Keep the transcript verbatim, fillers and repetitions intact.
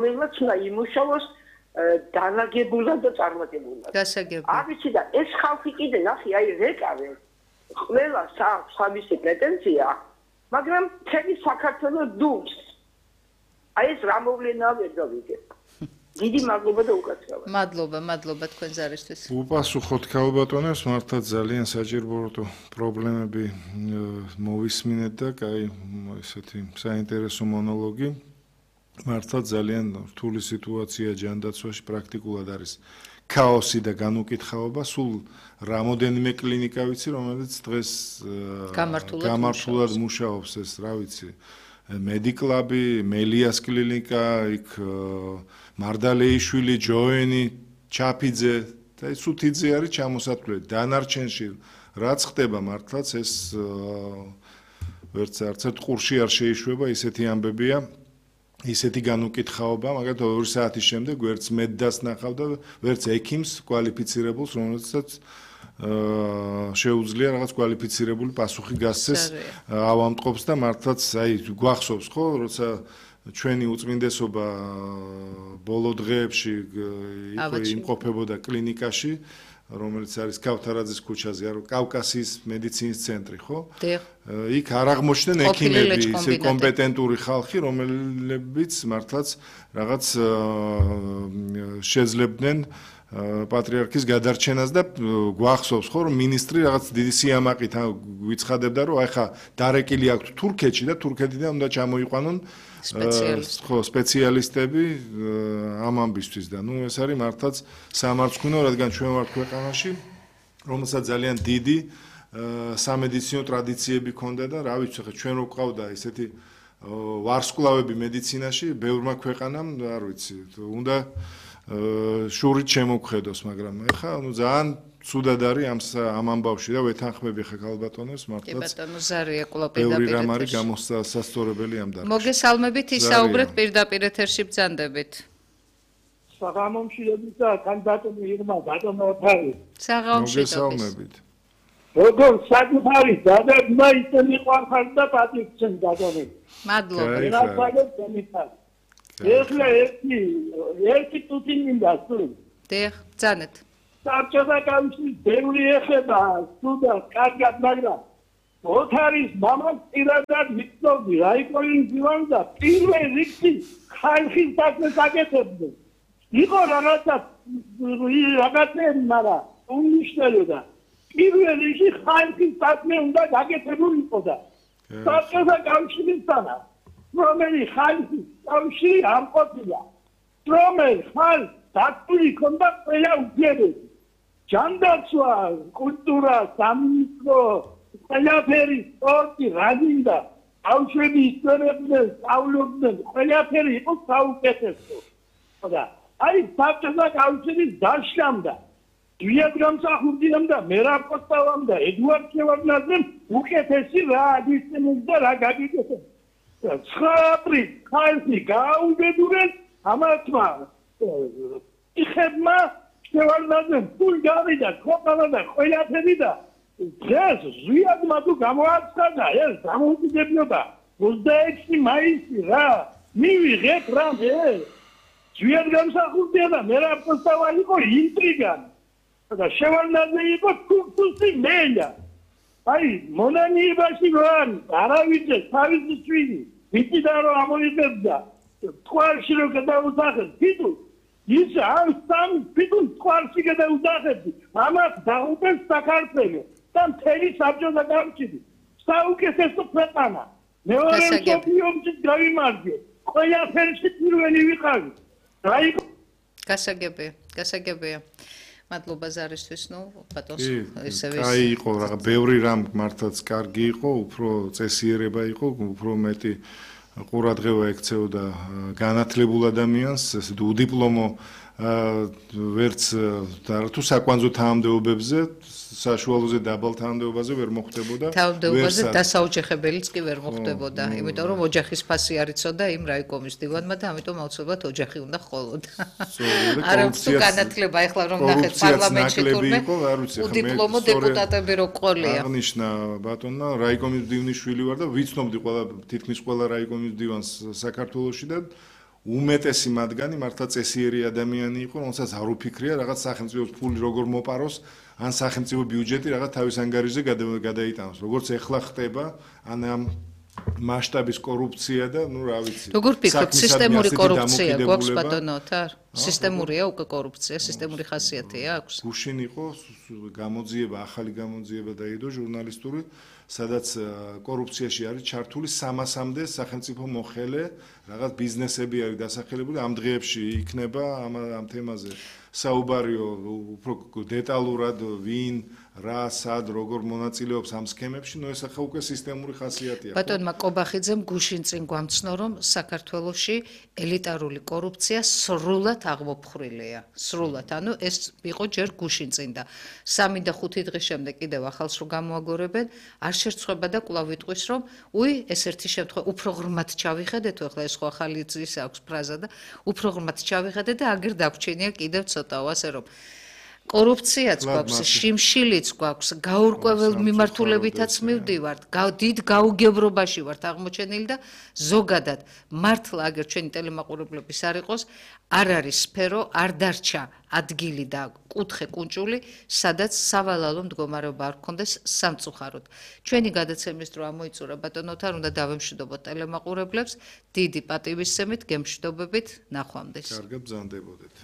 რომელმაც უნდა იმუშაოს დანაგებულად და წარმატებულად. გასაგები. არიცი და ეს ხალხი კიდე ნახე, აი რეკავე ყველა სამისი პრეტენზია, მაგრამ თემი საქართველოს დუმს. აი ეს რა მოვლენაა ვერ გავიგებ. დიდი მადლობა და უკაცრავად. მადლობა, მადლობა თქვენ ზარისთვის. უპასუხოთ ქალბატონებს, მართლაც ძალიან საჭირო პრობლემები მოვისმინეთ და კაი ესეთი საინტერესო მონოლოგი. მართლაც ძალიან რთული სიტუაცია ჯანდაცვაში პრაქტიკულად არის ქაოსი და განუკითხაობა. სულ რამოდენიმე კლინიკა ვიცი, რომელიც დღეს გამართულად მუშაობს ეს, რა ვიცი, მედიკლაბი, მელიას კლინიკა, იქ მარდალეიშვილი, ჯოენი, ჩაფიძე და სუთიძე არის ჩამოსათვლელი. დანარჩენში რაც ხდება მართლაც ეს ვერც არც ერთ ყურში არ შეიშვება, ისეთი ამბებია. ისეთი განუკითხაობა, მაგათ ორი საათის შემდეგ ვერც მედდას ნახავ და ვერც ექიმს კვალიფიცირებულს, რომელსაც შეუძლია რაღაც კვალიფიცირებული პასუხი გასცეს ავამტყობს და მართლაც აი გვახსოვს ხო, როცა ჩვენი უწმინდესობა ბოლო დღეებში იმყოფებოდა კლინიკაში, რომელიც არის ქავთარაძის ქუჩაზე, კავკასიის მედიცინის ცენტრი, ხო? იქ არ აღმოჩნდნენ ექიმები, ისე კომპეტენტური ხალხი, რომლებიც მართლაც რაღაც შეძლებდნენ პატრიარქის გადარჩენას და გვახსოვს ხო, რომ მინისტრი რაღაც დიდი სიამაყით გვიცხადებდა, რომ აი ხა დარეკილი აქვთ თურქეთში და თურქეთიდან უნდა ჩამოიყვანონ სპეციალისტები ამ ამბისთვის და ნუ ეს არის მართლაც სამარცხვინო, რადგან ჩვენ ვართ ქვეყანაში, რომელსაც ძალიან დიდი სამედიცინო ტრადიციები ჰქონდა და რა ვიცი, ხა ჩვენ რო გვყავდა ესეთი ვარსკვლავები მედიცინაში, ბევრმა ქვეყანამ, არ ვიცი, უნდა შურით შემოგხედოს, მაგრამ ეხა ნუ ძალიან ცუდად არის ამ ამ ამბავში და ვეთანხმები ხა ქალბატონებს მართლაც. კი ბატონო ზარია კვლავ პირდაპირ ბევრი რამ არის გამოსასწორებელი ამ დარგში. მოგესალმებით, ისაუბრეთ პირდაპირ ეთერში ბრძანდებით. საღამომშვიდობით და კანდიდატები იღმა ბატონო ოთარი. საღამომშვიდობით. როგორ საკუთარი დადაბმა ისე მიყვარხარ და პატივცემ ბატონო. მადლობა. რა ვაგებ თემითად. ეხლა ერთი ერთი თუთი მინდა სულ. დიახ, ბრძანეთ. საბჭოთა კავშირის ბევრი ეხება სუდა კარგად, მაგრამ ოთარის მამას პირადად ვიცნობდი, რაიკოინ ძივან და პირველ რიგში ხალხის საქმეს აკეთებდა. იყო რაღაცა რაღაცები, მაგრამ უნიშნელოდა. პირველ რიგში ხალხის საქმე უნდა გაკეთებული იყოდა. საბჭოთა კავშირისთანა რომელი ხალხის კავშირი არ ყოფილა. რომელი ხალხი დაწული ქონდა ყველა უძიებები. ჯანდაცვა, კულტურა, სამინისტრო, ყველაფერი, სპორტი, რადინდა, ბავშვები ისწორებდნენ, სწავლობდნენ, ყველაფერი იყო საუკეთესო. ხოდა, აი საბჭოთა კავშირის დაშლამ და ძვიად გამსახურდიამ და მერაბ კოსტავამ და ედუარდ შევარდნაძემ უკეთესი რა აგისწინეს და რა გაგიკეთეს. ცხრა ხალხი გააუბედურეს ამათმა იხებმა შევარდნაძემ ფულ გავიდა ქოყანა და ყველაფერი და დღეს ზვიადმა თუ გამოაცხადა ეს დამოუკიდებლობა ოცდაექვსი მაისი რა მივიღეთ რამე ზვიად გამსახურდია და მერაბ კოსტავა იყო ინტრიგანი და შევარდნაძე იყო თურქუსი მელა აი მონანიებაში ვარ არავითარ თავისი შვილი ვიცი რომ ამოიღებდა თვალში რომ გადაუსახეს თვითონ ის ამ სამ თვითონ თვალში გადაუსახეს ამას დაუპეს საქართველოს და მთელი საბჭოთა კავშირი საუკეთესო ქვეყანა მეორე მსოფლიო ომში გავიმარჯვე ყველაფერში პირველი ვიყავი აი გასაგებია გასაგებია მადლობა ზარისთვის, ნუ ბატონს ესევე. აი იყო რა, ბევრი რამ მართლაც კარგი იყო, უფრო წესიერება იყო, უფრო მეტი ყურადღება ექცეოდა განათლებულ ადამიანს, ესე უდიპლომო ვერც თუ საკვანძო თანამდებობებზე, საშუალოზე დაბალ თანამდებობაზე ვერ მოხდებოდა. თანამდებობაზე დასაოჯახებელიც კი ვერ მოხდებოდა, იმიტომ რომ ოჯახის ფასი არ იცოდა იმ რაიკომის დივანმა და ამიტომ აუცილებლად ოჯახი უნდა ხოლოდა. არა თუ განათლება ეხლა რომ ნახეთ პარლამენტში თურმე უდიპლომო დეპუტატები რო ყოლია. აღნიშნა ბატონმა რაიკომის მდივნის შვილი ვარ და ვიცნობდი ყველა თითქმის ყველა რაიკომის მდივანს საქართველოში და უმეტესი მათგანი მართლა წესიერი ადამიანი იყო, რომელსაც არ უფიქრია რაღაც სახელმწიფოს ფული როგორ მოპაროს, ან სახელმწიფო ბიუჯეტი რაღაც თავის ანგარიშზე გადაიტანოს. როგორც ეხლა ხდება, ან ამ მასშტაბის კორუფცია და ნუ რა ვიცი. როგორ ფიქრობთ, სისტემური კორუფცია გვაქვს ბატონო თარ? სისტემურია უკვე კორუფცია, სისტემური ხასიათი აქვს? გუშინ იყო გამოძიება, ახალი გამოძიება დაიდო ჟურნალისტური, სადაც კორუფციაში არის ჩართული სამასამდე სახელმწიფო მოხელე, რაღაც ბიზნესები არის დასახელებული, ამ დღეებში იქნება ამ ამ თემაზე საუბარიო უფრო დეტალურად ვინ რა სად როგორ მონაწილეობს ამ სქემებში, ნუ ეს ახლა უკვე სისტემური ხასიათია. ბატონმა კობახიძემ გუშინ წინ გვამცნო, რომ საქართველოში ელიტარული კორუფცია სრულად აღმოფხრილია. სრულად, ანუ ეს იყო ჯერ გუშინ წინ და სამი და ხუთი დღის შემდეგ კიდევ ახალს რო გამოაგორებენ, არ შერწყვება და კვლავ ვიტყვის, რომ უი, ეს ერთი შემთხვევა უფრო ღრმად ჩავიხედეთ, ახლა ეს ხო ახალი ის აქვს ფრაზა და უფრო ღრმად ჩავიხედეთ და აგერ დაგვრჩენია კიდევ ცოტაო, ასე რომ კორუფციაც გვაქვს, შიმშილიც გვაქვს, გაურკვეველ მიმართულებითაც მივდივართ, დიდ გაუგებრობაში ვართ აღმოჩენილი და ზოგადად მართლა აგერ ჩვენი ტელემაყურებლების არ იყოს, არ არის სფერო, არ დარჩა ადგილი და კუთხე კუნჭული, სადაც სავალალო მდგომარეობა არ გქონდეს სამწუხაროდ. ჩვენი გადაცემის დრო ამოიწურა ბატონოთარ, უნდა დავემშვიდობოთ ტელემაყურებლებს, დიდი პატივისცემით, გემშვიდობებით, ნახვამდის. კარგად ბრძანდებოდეთ.